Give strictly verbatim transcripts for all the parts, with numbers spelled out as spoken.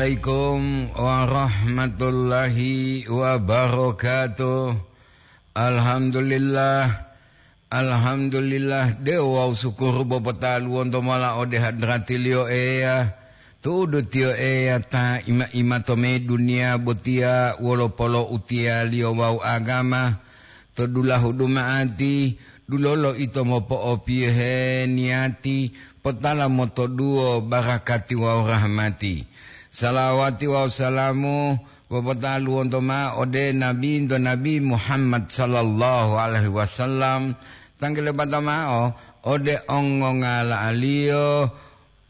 Assalamualaikum warahmatullahi wabarakatuh. Alhamdulillah. Alhamdulillah, de'u wawu sukuru popotaluwonto mola ode hadratiliyo Eya. Tu'udu tiyo Eya ta ima-ima to me duniya botiya wolo polo'utiyaliyo wawu agama. To dulahu duma'ati, dulolo ito mopo'opiyohe niyati, potala motoduwo barakati wawu rahmati. Salawati wawu salamu popotaluwonto ma'o ode Nabinto Nabi Muhammad sallallahu alaihi wasallam, tangkilopata ma'o ode ongongala'aliyo,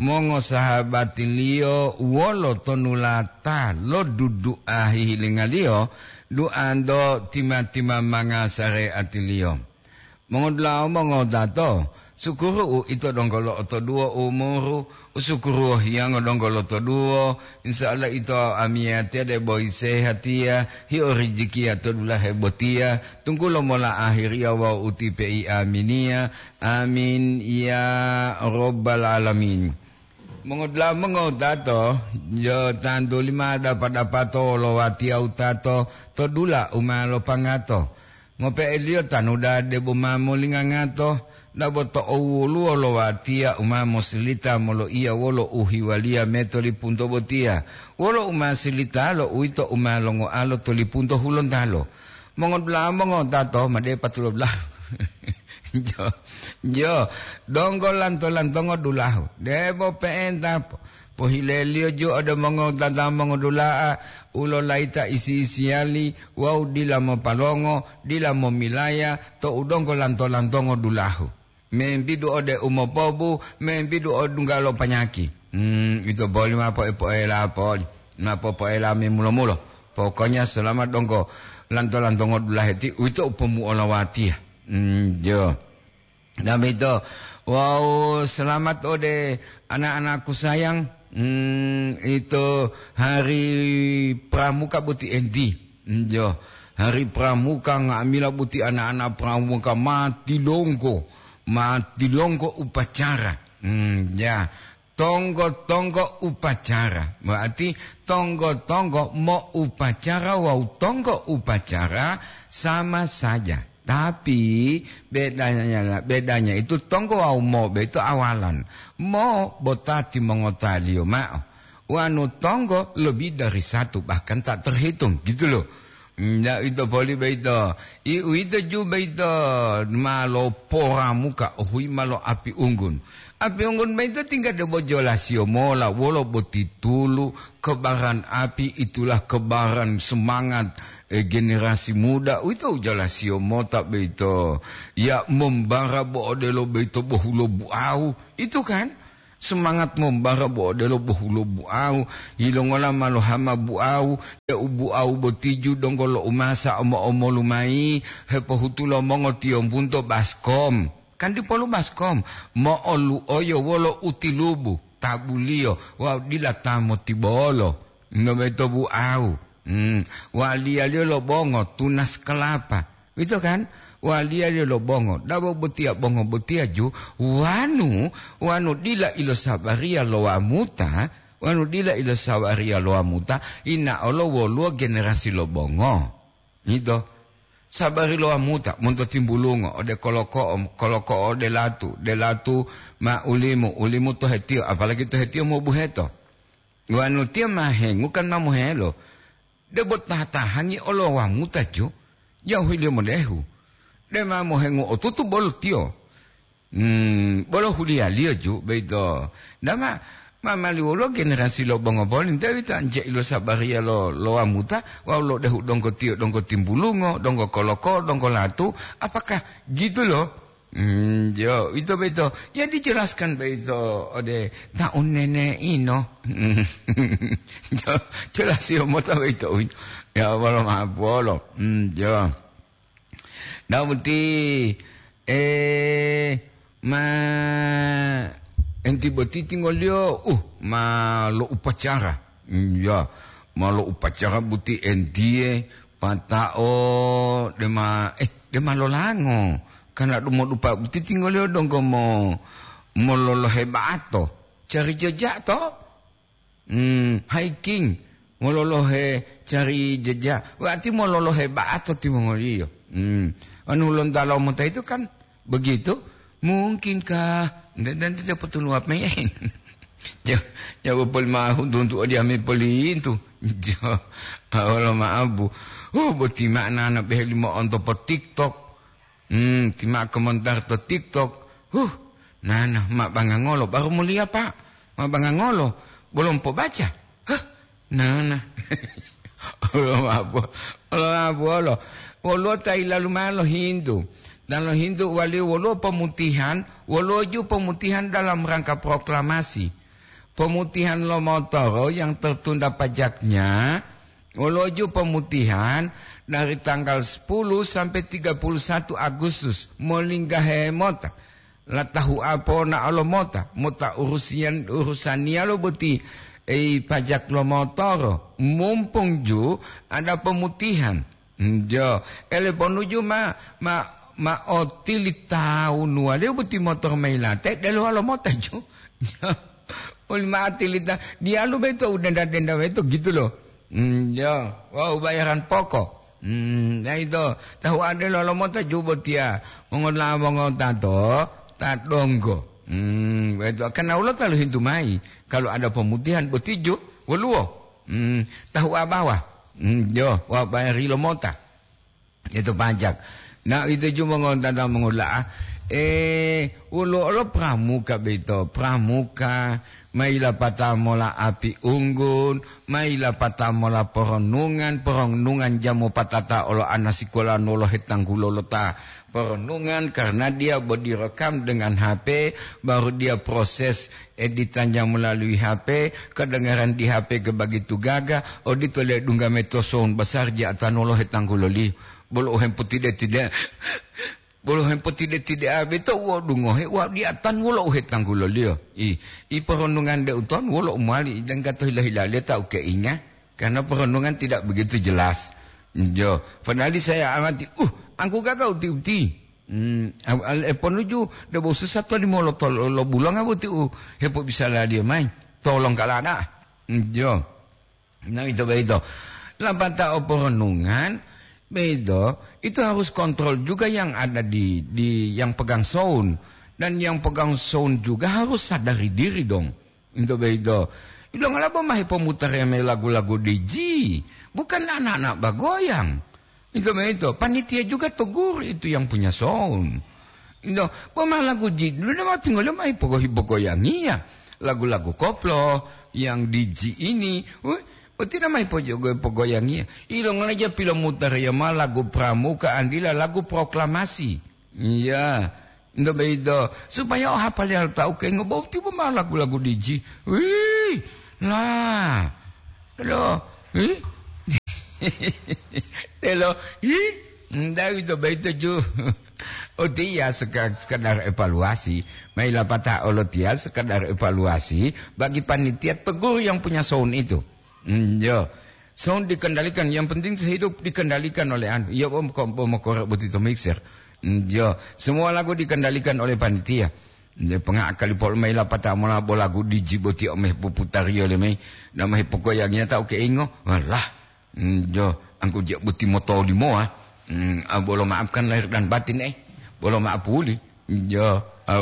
mongosahabatiliyo wolo tonulata lo dudu'a hihilingaliyo, duanto tima-timamanga sareatiliyo. Mongodula'a mongowutato, sukuru u ito donggo lo'otoduwo umuru, u sukuru wohiyango donggo lotoduwo, insya Allah ito amiyatiya debo isehatiya, hio rijikiya to dulahe botiya, tunggulo mola ahiriya wawu utipe i aminiya. Amin ya rabbal alamin. Mongodula'a mongowutato, jo tantuli ma dapa-dapato wolo watiya wutato to dula u ma lopangato. Ngope'eliyo tanu dade bo ma molingangato, dabo to owoluwo lo watiya u ma mosilita moloiya wolo uhiwaliya me to lipunto botiya, wolo u ma silitalo uwito u ma longoalo to lipunto hulontalo. Mongodula'a mongowutato ma depa tulodulahu. Jo, jo, donggo lanto-lantongo dulahu. Debo pe'enta po-, pohileliyo ju ode mongowutata mongodula'a u lolayita isi-isiyali wawu dila mopalongo, dila momilaya to u donggo lanto-lantongo dulahu. Membidu ode umopobu, membidu odungga lo panyaki. Hmm, ito boli ma poe-poela poli. Ma popoela me mulo-mulo. Pokoknya selama donggo lanto-lantongo dulaheti, uwito u pomuolawatiya. Hmm, jo. Damito, wawu selamat ode anak-anakku sayang. Hmm, ito hari Pramuka boti enti. Hmm, jo. Hari Pramuka nga'amila boti anak-anak Pramuka ma tilonggo, ma tilonggo upacara. Hmm, ya. Tonggo-tonggo upacara. Berarti tonggo-tonggo mo upacara wawu tonggo upacara sama saja. Tapi bedanya, bedanya itu tonggo wawu mo boyito awalan. Mo botati mongotaliyo ma'o. Wanu tonggo lebih dari satu, bahkan tak terhitung, gitu loh. Ndak ito poli boyito. I uwito ju boyito ma loporamuka ohuyi ma lo api unggun. Api unggun boyito tingga debo jolasiyo mola wolo boti tulu, kebaran api itulah kebaran semangat, eh, generasi muda. Uwito jolasiyo mota boyito. Ya mombara bo odelo boyito bohulo buawu. Itu kan? Semangat mombara bo odelo bohulo buawu, yilongola ma lohama buawu, deu buawu boti ju donggo lo umasa omo-omolu mayi, hepohutulo mongotiyombunto baskom. Kan dipolu baskom, mo'olu'oyo wolo utilubu, tabuliyo, wawu dila ta motibolo. Nobeto buawu. Hmm. Waliyaliyo lo bongo, tunas kelapa. Uwito kan? Waliyaliyo lo bongo. Dabo botiya bongo botiya ju, wanu, wanu dila ilosabariya lo wamuta, wanu dila ilosabariya lo wamuta, inaolo woluwo generasi lo bongo. Uwito. Sabari lo wamuta, monto timbulungo, ode koloko'o, koloko'o ode latu, de latu ma ulimu, ulimu to hetiyo, apalagi to hetiyo mobuheto. Wanu tiyo ma hengu kan ma mohelo. Debo tatahangi olo wamuta ju, jauhiliyo modehu. Dema mohengu otutu bolo tiyo. Hmm, bolo huliyaliyo ju, boyito. Dama, ma mali woluwo generasi lo bongo boli, nte uwito anje ilo sabariya lo, lo wamuta, wawu lo dehu donggo tiyo, donggo timbulungo, donggo koloko, donggo latu, apakah gitu lo? Hmm, jo, ito boyito. Ya dijelaskan boyito ode ta unnene ino. Jo, jelasiyo mota boyito. Ya, wolo ma'apolo. Hmm, jo. Nah, boti, eh, ma enti boti tinggoliyo, uh, ma lo upacara. Hmm, ya, ma lo upacara boti entiye, pata'o, dema, eh, dema lolango. Karena dumodupa boti tinggoliyo donggo mo, mololohe ba'ato. Cari jejak to? Hmm, hiking, mololohe cari jeja, berarti mololohe ba'ato timongoliyo. Hmm, anu lonta lo mota itu kan begitu. Mungkinkah? Dan, dan tidak perlu apa ya? Ya, ya, betul mah untuk, untuk dia me pelintu. Ya, Allah maaf, Bu. Oh, boti makna anak behe lima onto po TikTok. Hmm, ti ma komentar to TikTok. Huh, nana, ma bangangolo, baru mulia, Pak. Ma bangangolo, belum pobaca. Huh, nana. Allah maaf, Allah maaf, Allah. Woluwo ta yilalu mao lohintu. Dan lohintu waliyo woluwo pomutihan, woluwo ju pomutihan dalam rangka proklamasi. Pomutihan lo motoro yang tertunda pajaknya, woluwo ju pomutihan dari tanggal sepuluh sampai tiga puluh satu Agustus, molinggahe mota. Latahu'a ponao lo mota, mota urusian, urusaniyalo boti, ei, pajak lo motoro. Mumpung ju ada pomutihan. Njo, ele ponuju ma, ma, ma otili tawunuwaliyo boti motor mailate, delowa lo mota ju. Oli ma tilita, diyalu beto u denda-denda beto gitu loh. Hmm, ya, wau bayaran pokok. Hmm, ya itu, tahu ada lo lomota jubo tia, mongola mongota to, ta donggo. Hmm, itu, karena ulo talu hintu mai, kalau ada pemutihan boti ju, woluwo. Hmm, tahu abawa. Hmm, yo, wa bayari lomota. Itu pajak. Na, itu ju mongontata mongola'a. Eh, wolo olo pramuka beto, pramuka, mailapata mola api unggun, mailapata mola poronungan, poronungan jamu patata olo ana sikola nolo hetanggulo lota poronungan, karena dia bo direkam dengan H P, baru dia proses editannya melalui H P, kedengaran di H P ke begitu gaga, odito le dungga meto sound besar ja atanolo hetangguloliyo. Bolo u hempotide-tide-, bolo hempotide-tide'a beto u odungohe, wa diatan wolo u hetangguloliyo. I, i poronungan de uton wolo u mowali, danggato hila-hilaliyo ta u keinga, karena poronungan tidak begitu jelas. Jo, padahal saya amati, uh, angku gaga uti-uti. Hmm, al-, al-, e ponuju, debo susa to limoloto lo, lo bulonga boti u hepobisaladiyo mayi. Tolong kalada. Hmm, jo. Nah, itu begitu. Lapata'o poronungan, begitu, itu harus kontrol juga yang ada di, di yang pegang sound. Dan yang pegang sound juga harus sadari diri dong. Into beito. Ilongola bo ma hepomutare mayi lagu-lagu D J? Bukan anak-anak bagoyang. Into beito. Panitia juga tegur itu yang punya sound. Into, bo ma lagu D J, dulu ma tinggal ma hipogo-hipogoyangiya. Lagu-lagu koplo yang D J ini. Wih, boti nama hipogo-, hipogoyangiya. Ilongola ja pilomutare ma lagu pramuka, andila lagu proklamasi. Iya, nto beito, supaya o hapaliyo lo tawu kengo bo tibo mao lagu-lagu D J. Wih, la, lo, wih. Telo, ih, nda uwito beito ju. Utiya seka-, sekedar evaluasi, mailapata olotiya sekedar evaluasi bagi panitia tegur yang punya sound itu. Hmm, yo. Sound dikendalikan, yang penting sehidup dikendalikan oleh anu. Iya, bom, kom-, bom, korek boti to mixer. Hmm, yo. Semua lagu dikendalikan oleh panitia. Yo, penga kali pol mai lapata mola bo lagu D J boti o meh puputariyo le mai. Na meh pokoyangiya ta o keingo. Walah. Hmm, yo, angku je boti motolimo, ah. Hmm, ah, bolo maafkan lahir dan batin, eh. Bolo maaf puli. Yo, ah,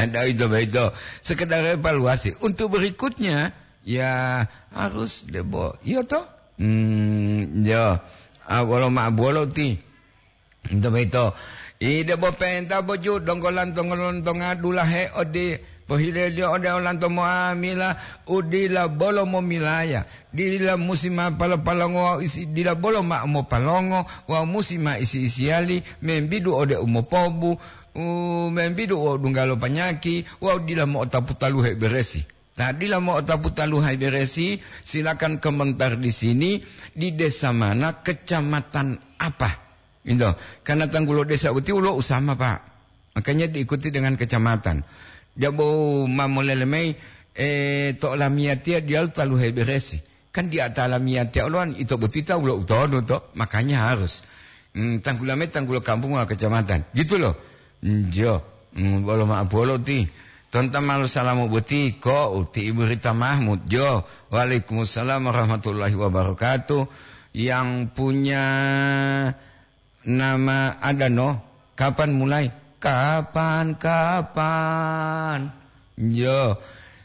ada itu, itu. Sekedar evaluasi. Untuk berikutnya, ya, harus debo. Iyo to? Hmm, yo. Ah, wolo ma bolo ti. Ito beito. I debo penta boju donggo lantongo lontonga dulahe ode pohileliyo ode olanto moamila u dila bolo momilaya. Dila musi ma palo-palongo wawu isi dila bolo ma mopalongo wawu musi ma isi-isiyali membidu ode umopobu, u membidu wo dunggalo panyaki wawu dila mo'otapu taluhe beresi. Ta dila mo'otapu taluhe beresi, silakan komentar di sini, di desa mana, kecamatan apa. Gitu. Karena tanggulo desa uti ulo usama, Pak. Makanya diikuti dengan kecamatan. Dia bau mamolele mai, eh, to lamiyatiya dia taluhe beresi. Kan di ata lamiyatiya uloan ito boti ta ulo utonu to, makanya harus. Hmm, tanggulo mai tanggulo kampung wa kecamatan. Gitu loh. Njo, mm, bolo ma'o bolo ti. Tonta malo salamu boti ko uti Ibu Rita Mahmud. Jo, waalaikumsalam warahmatullahi wabarakatuh. Yang punya nama Adano, kapan mulai? Kapan, kapan? Jo,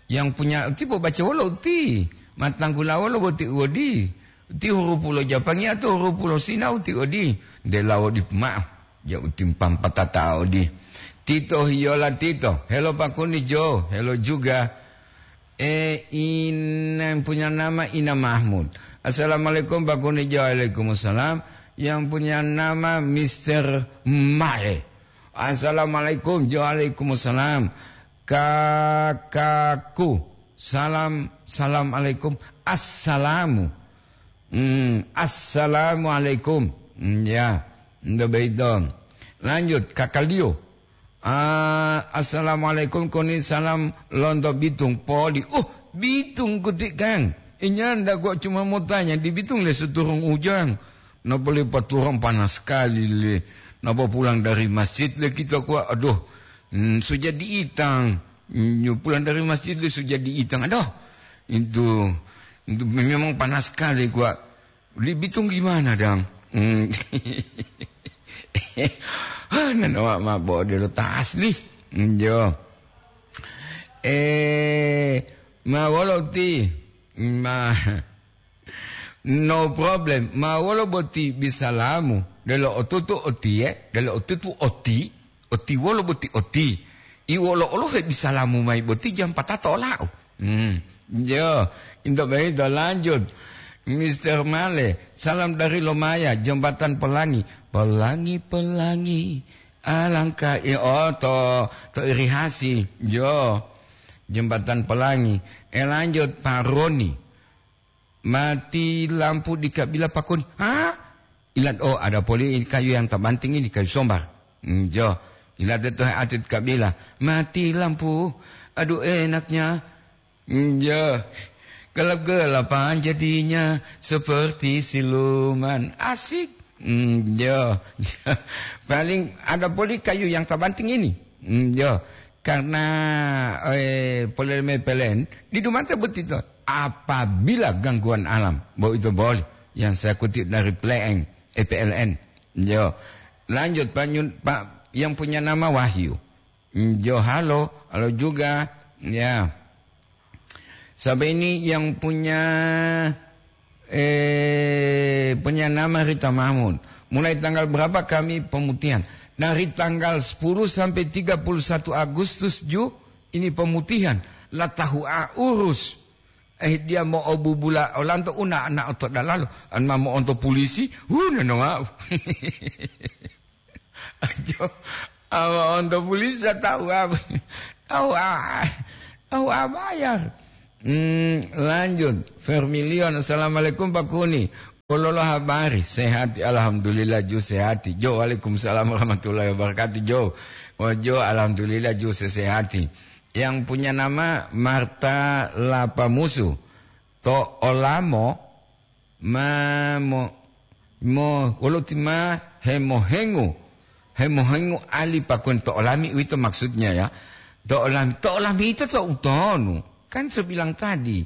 yang punya uti po baca wolo uti. Matanggula wolo boti wodi. Uti hurupu lo Japangi atau hurupu lo Sina uti wodi. Dela wodi ma'o. Ja uti mpampa tata odi. Tito hiyola tito. Hello Pak Kuni Jo. Hello juga. Eh, ina yang punya nama Ina Mahmud. Assalamualaikum Pak Kuni Jo. Waalaikumsalam. Yang punya nama Mister Mae. Assalamualaikum Jo. Waalaikumsalam. Kakakku. Salam, salam alaikum. Assalamu. Hmm, assalamualaikum. Hmm, ya, ndo beito. Lanjut, kakaliyo. Ah, assalamualaikum, koni salam lonto Bitung poli. Oh, Bitung kuti kang. Inyanda gua cuma mau tanya, di Bitung le suturung ujang. Napa le paturang panas sekali le. Napa pulang dari masjid le kita kuat. Aduh, hmm, sudah diitang. Hmm, pulang dari masjid le sudah diitang. Aduh, itu, itu memang panas sekali kuat. Di Bitung gimana, Dang? Hmm. Ah, nanawa mabo delo ta asli. Hmm, jo. Eh, ma wolo ti? Ma, no problem. Ma wolo boti bisalamu? Delo otutu otiye, delo otutu oti, oti wolo boti oti. I wolo olo hebisalamu mai boti jam patato ola'u. Hmm. Yo, into beito lanjut. Mister Male, salam dari Lomaya, Jembatan Pelangi. Pelangi, pelangi, alangkah i-, oh, to, to irigasi. Yo, Jembatan Pelangi. Eh, lanjut, Pak Roni. Mati lampu di kabila Pak Roni. Hah? Ilat, oh, ada poli kayu yang tabanting ini, kayu sombar. Hmm, jo. Ilat itu hati kabila. Mati lampu. Aduh, enaknya. Hmm, jo. Gelap-gelapan jadinya seperti siluman. Asik. Hmm, jo. Paling ada poli kayu yang tabanting ini. Hmm, jo. Karena, eh, polele me pelen, di dumata botito. Apabila gangguan alam, bo ito boli. Yang saya kutip dari P L N, eh, P L N. Jo. Lanjut, Pak Nyun-, Pak, yang punya nama Wahyu. Hmm, jo, halo, halo juga. Ya. Sampai ini yang punya, eh, punya nama Rita Mahmud. Mulai tanggal berapa kami pemutihan? Dari tanggal sepuluh sampai tiga puluh satu Agustus, Ju, ini pemutihan. La tahu a urus. Eh, dia mau obubula olanto una anak oto dalalo. An ma mo'onto polisi, hu, nonowau. Ajo, awa onto polisi tahu apa? Tahu a-, tahu apa ya? Hmm, lanjut. Vermilion, assalamualaikum Pak Kuni. Pololo habari, sehati, alhamdulillah, ju sehati. Jo, waalaikumsalam warahmatullahi wabarakatuh, Jo. Oh, Jo, alhamdulillah, ju sehati. Yang punya nama Marta Lapamusu. To olamo, ma mo, mo, wolo ti ma hemohengu. Hemohengu ali pakun to olami, uwito maksudnya ya. To olami, to olami itu to utonu. Kan saya bilang tadi,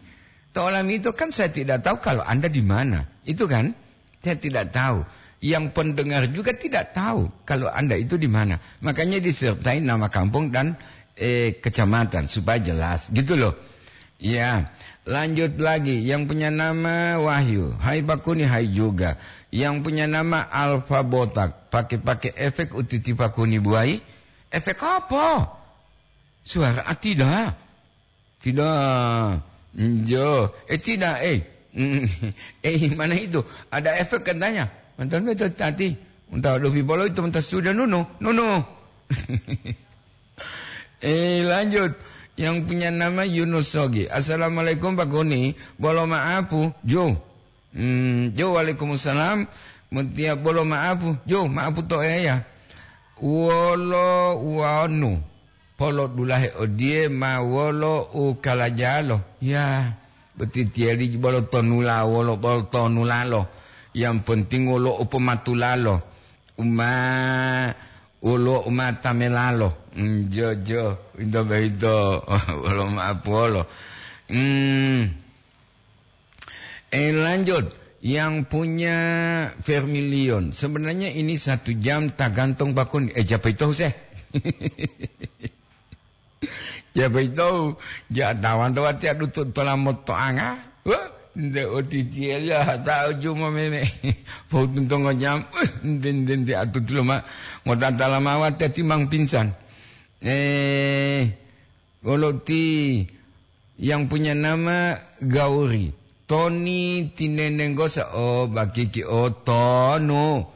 to olami itu kan saya tidak tahu kalau Anda di mana. Itu kan? Saya tidak tahu. Yang pendengar juga tidak tahu kalau Anda itu di mana. Makanya disertai nama kampung dan, eh, kecamatan supaya jelas gitu loh. Ya, lanjut lagi. Yang punya nama Wahyu. Hai Pak Kuni, hai juga. Yang punya nama Alfa Botak. Pakai-pakai efek utiti Pak Kuni buai. Efek apa? Suara, ah, tidak. Tidak. Njo. Eh, tidak, eh. Mm. Eh, mana itu? Ada efek katanya. Mantan betul tadi. Entah ada bibolo itu, entah sudah nunu. Nunu. Eh, lanjut. Yang punya nama Yunus Sogi. Assalamualaikum, Pak Kuni. Bolo maapu, Jo. Hmm, Jo, waalaikumsalam. Mutia bolo maapu, Jo, maapu to eya. Wolo wanu. Polo dulahe odiye ma wolo u kalajalo. Ya, boti tiyali bolo tonula, wolo bolo tonulalo. Yang penting wolo u pomatulalo. Uma, woluwo umata melalo. Mm, jo, jo, ito boyito, wolo ma'apuwolo. Mm. Eh, lanjut, yang punya Vermilion. Sebenarnya ini satu jam tergantung bakun. Eh, siapa itu, Huseh? Siapa itu? Ja, tawan to wati adu to, tola motoanga. Wah, nde otitiya ya, ta uju mo meme. Pau tuntongo jam, eh, nde, nde, nde, atu tulo ma. Ngota tala mawati timang pingsan. Eh, Wolo ti yang punya nama Gauri. Toni tinenenggosa, oh, bakiki, oh, tonu.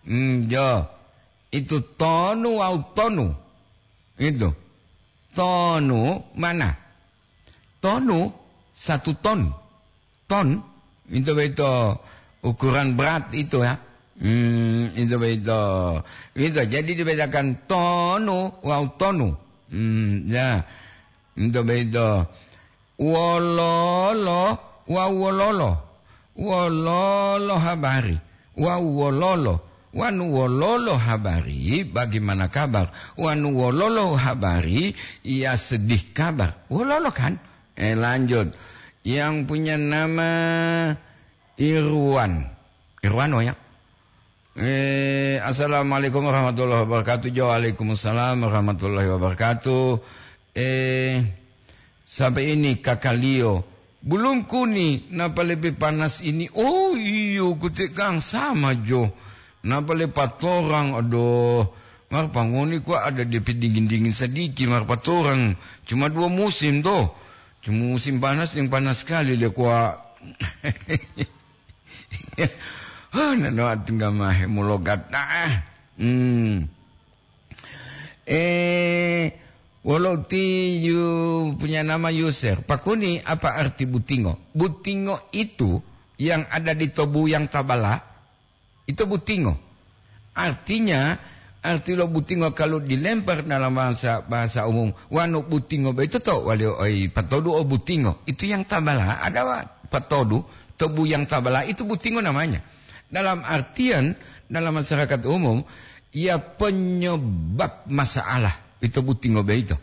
Hmm, jo. Itu tonu wawu tonu. Itu. Tonu mana? Tonu satu ton. Ton, itu beito ukuran berat itu ya. Hmm, itu beito. Itu jadi dibedakan tonu wawu tonu. Hmm, ya. Itu beito. Wololo wawu wololo. Wololo habari. Wawu wololo. Wanu wololo habari, bagaimana kabar? Wanu wololo habari, ya sedih kabar. Wololo kan? Eh, lanjut. Yang punya nama Irwan. Irwan, oh ya. Eh, assalamualaikum warahmatullahi wabarakatuh. Jo, waalaikumsalam warahmatullahi wabarakatuh. Eh, sampai ini kakaliyo. Belum kuni, napa lebih panas ini? Oh, iyo, kutekang sama jo. Napa le patorang, aduh. Mar pangoni kuwa ada depe dingin-dingin sadiki, mar patorang. Cuma dua musim to. Cuma musim panas yang panas sekali le kuwa. Oh, nano atunggamahe mulogat. Ah. Hmm. Eh, wolo ti yu punya nama Yuser. Pakuni apa arti butingo? Butingo itu yang ada di tobu yang tabala, itu butingo. Artinya, arti lo butingo kalau dilempar dalam bahasa, bahasa umum, wanu butingo boyito to wali oi patodu o butingo. Itu yang tabala, ada wa-, patodu, tobu yang tabala, itu butingo namanya. Dalam artian, dalam masyarakat umum, ya penyebab masalah, itu butingo boyito.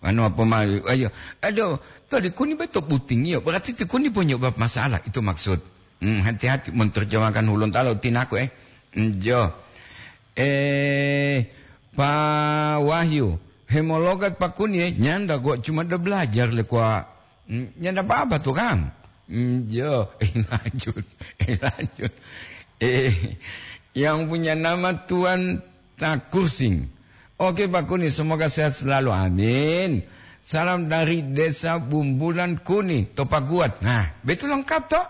Anu apa ma-, ayo, aduh, to dikuni beto butingiyo, berarti dikuni penyebab masalah, itu maksud. Hmm, hati-hati menerjemahkan hulun talo tinaku, eh. Hmm, jo. Eh, Pak Wahyu, hemologat pakuni, eh, nyanda kok cuma ada belajar le kwa. Hmm, nyanda apa-apa tuh, Kang. Hmm, jo, eh, lanjut, eh, lanjut. Eh, yang punya nama Tuan Takursing. Oke, Pak Kuni, semoga sehat selalu. Amin. Salam dari Desa Bumbulan Kuni, to Paguat. Nah, betul lengkap, toh?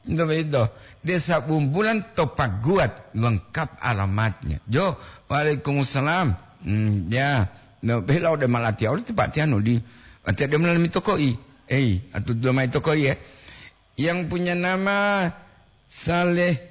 Itu, itu. Desa Bumbulan to Paguat, lengkap alamatnya. Jo, waalaikumsalam. Hmm, ya. No, bela udah malati, udah tepat tiano di. Ate de melalui tokoi. Eh, atau dua mai tokoi ya. Yang punya nama Saleh